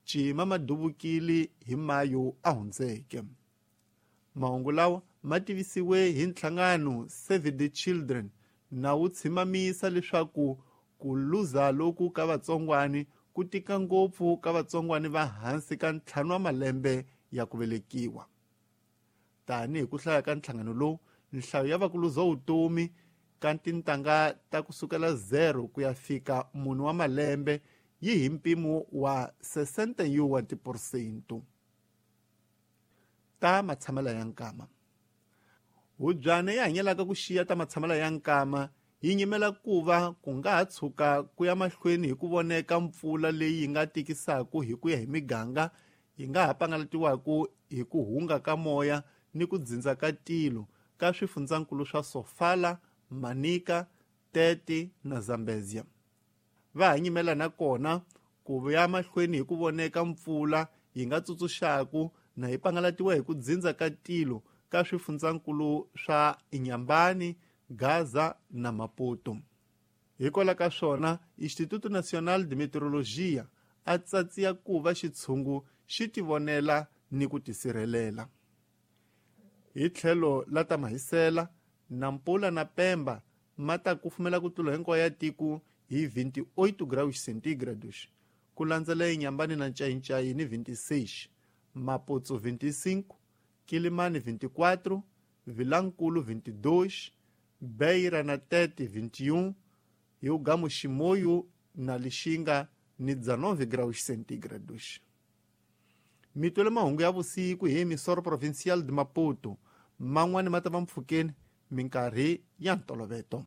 Cima ma duvukile hi Mayo a hundzeke. Mahungu lawa ma tivisiwe hi nhlangano Save the Children na wu tshimamisa leswaku ku luza loku ka vatsongwani ku tika ngopfu ka vatsongwani va hansi ka 5 wa malembe ya ku velekiwa. Tanihi ku hlaya ka nhlangano lowu, nhlayo ya vakuluza vutomi ka tintangha ta kusukela 0 ku ya fika 4 wa malembe yi hi mpimo wa 61%. Ta matshamelo ya nkama. Hubyana yi hanyelaka ku xiya ta matshamelo ya nkama yi nyimela ku va ku nga ha tshuka ku ya mahlweni hi ku voneka mpfula leyi yi nga tikisaka hi ku ya hi miganga yi nga ha pangalatiwaka hi ku hunga ka moya ni ku dzindza ka tilo ka swifundzankulu swa Sofala, Manica, Tete na Zambezia. Va ha nyimela na kona ku ya mahlweni hi ku voneka mpfula yi nga tsutsuxaku na yi pangalatiwa hi ku dzindza ka tilo ka swifundzankulu swa Inhambane, Gaza na Maputo. Hikwalaho ka swona, Instituto Nacional de Meteorologia a tsatsiya ku va xitshungu xi tivonela ni ku tisirhelela. Hi tlhelo la ta mahisela, Nampula na Pemba ma ta kufumela ku tlula hinkwayo ya tiko hi 28 graus centígrados, ku landzela Inhambane na Ncayincai ni 26, Maputo 25, Quelimane 24, Vilankulu 22, Beira na Tete 21, Hugamu Chimoio na Lixinga ni 19 graus centígrados. Mitwele mahungu ya vusiku hi Emissora Provincial de Maputo, man'wani ma ta va mpfhukeni minkarhi ya ntoloveto.